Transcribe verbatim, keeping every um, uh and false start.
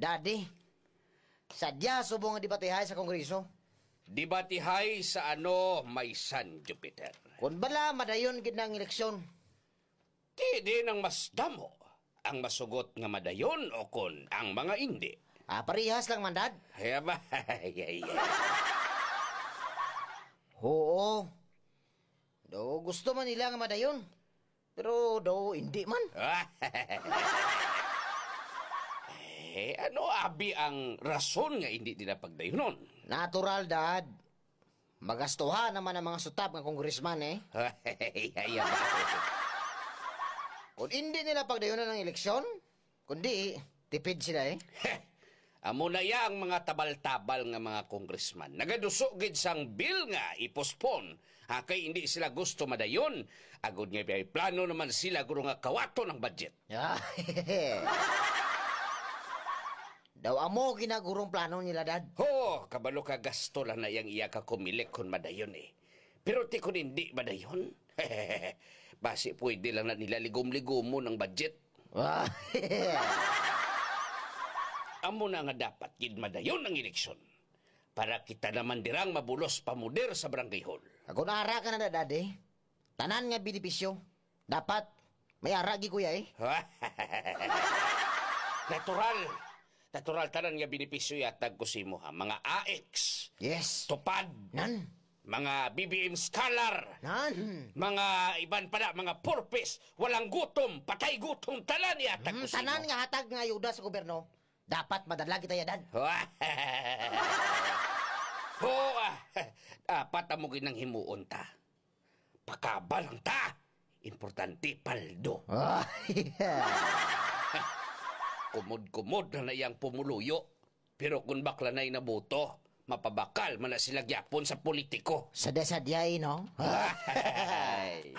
Daddy, sadya subong nga debatihay sa Kongreso. Debatihay sa ano, may San Jupiter? Kung bala, madayon gid na ang eleksyon. Ti din ang mas damo, ang masugot nga madayon o kon ang mga indi. Ah, parehas lang man, Dad. Ay, aba, ay, ay, ay. Oo. Daw gusto man nila nga madayon. Pero daw hindi man. Eh, ano abi ang rason nga hindi nila pagdayunon? Natural, Dad. Magastuhan naman ang mga sutap nga congressman, eh. Ay, aba. Kung hindi nila pagdayunan ang eleksyon, kundi tipid sila, eh. Amo na ya ang mga tabal-tabal nga mga congressman. Nagaduso gid sang bill nga i-postpone. Ha, kay hindi sila gusto madayon. Agod nga may plano naman sila guro nga kawaton ang budget. Ah, daw amo ginagurong plano nila, Dad. Ho, kabalo ka gasto lang na yang iya ka kumilik kon madayon eh. Pero ti kon hindi madayon, basi pwede lang na nila ligom-ligomon ang budget. Ah, amo na nga dapat gid madayon ang eleksyon para kita naman dirang mabulos pamuder sa barangay hall. Ako na ara ka na, Dad, eh. Tanan nga benepisyo. Dapat may ara gi kuya, eh. Natural. Natural tanan nga benepisyo yatag ko sa imo, ha. Mga A X. Yes. Tupad. Nan. Mga B B M scholar. Nan. Mga iban pa na, mga purpose. Walang gutom, patay gutom, tanan yatag ko Mm, sa tanan imo. Nga hatag nga ayuda sa gobyerno, dapat madala kita yadan. Oo, ah, apat amo ginang himuon ta. Pakaba lang ta. Importante, paldo. Ah, yeah. Kumod-kumod na na yang pumuluyo. Pero kung bakla na'y nabuto, mapabakal man na sila gyapon sa politiko. Sadya-sadya, eh, no? Ay.